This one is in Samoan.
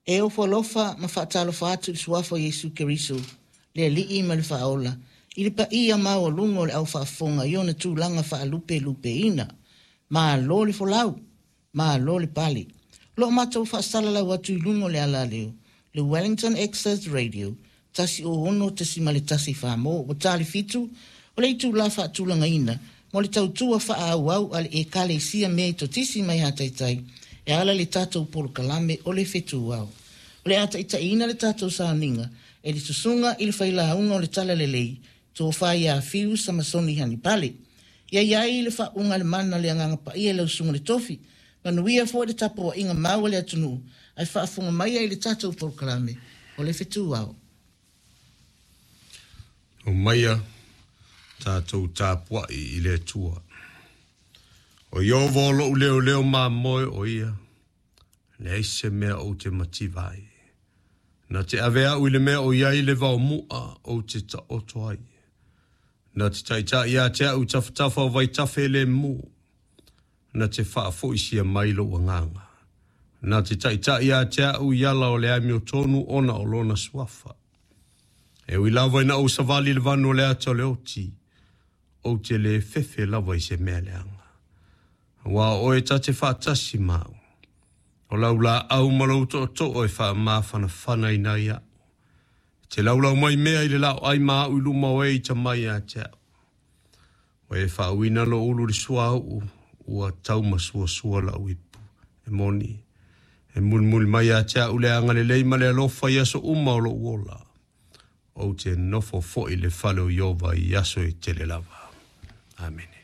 E ofo alofa ma faatalofa atu i le Suafa o Iesu Keriso, le Alii ma le Faaola, i le paia maualuga o le au faafofoga i ona tulaga faalupelupeina. Malo le folau! Malo le pale! O lo o matou faasalalau atu i luga o le alaleo, le Wellington Access Radio, 106.1 Samoa, ua ta le fitu o le itulā faatulagaina mo le tautua faaauau a le Ekalesia Metotisi mai Hataitai e ala i le tatou polokalame o le Fetuao. O le a taitaiina le tatou sauniga e le Susuga i le Failauga o le Talalelei, Tofa ia Fiu Samasoni Hanipale. Ia i ai le faauuga a le Mana o le Agaga Paia i lau Susuga i le Tofi. Manuia foi le tapuaiga mau a le atunuu ae faafofoga maia i le tatou polokalame o le Fetuao. Omaia tatou tapuai i le Atua. O Ieova o lou leoleo mamoe o ia, leai se mea ou te mativa ai. Na te ave au i le mea o i ai le vaomua ou te taoto ai. Na te taitai ia te au i tafatafa o vaitafe le mu. Na te faafoisia mai lou agaga. Na te taitai ia te au i ala o le amiotonu ona o lona suafa. E ui lava ina ou savali i le vanu o le ata o le oti, ou te le fefe lava i se mea leaga. Aua o oe ta te faatasi ma au. O lau laau ma lou tootoo e faamafanafanaina ai au. E te laulau mai mea i le laoai ma au i luma o e ita mai ia te au. Ua e faauuina lou ulu i le suauu, ua taumasuasua lau ipu. E moni, e mulimuli mai ia te au le agalelei ma le alofa i aso uma o lou ola. Ou te nofo foi i le fale o Ieova i aso e tele lava. Amene.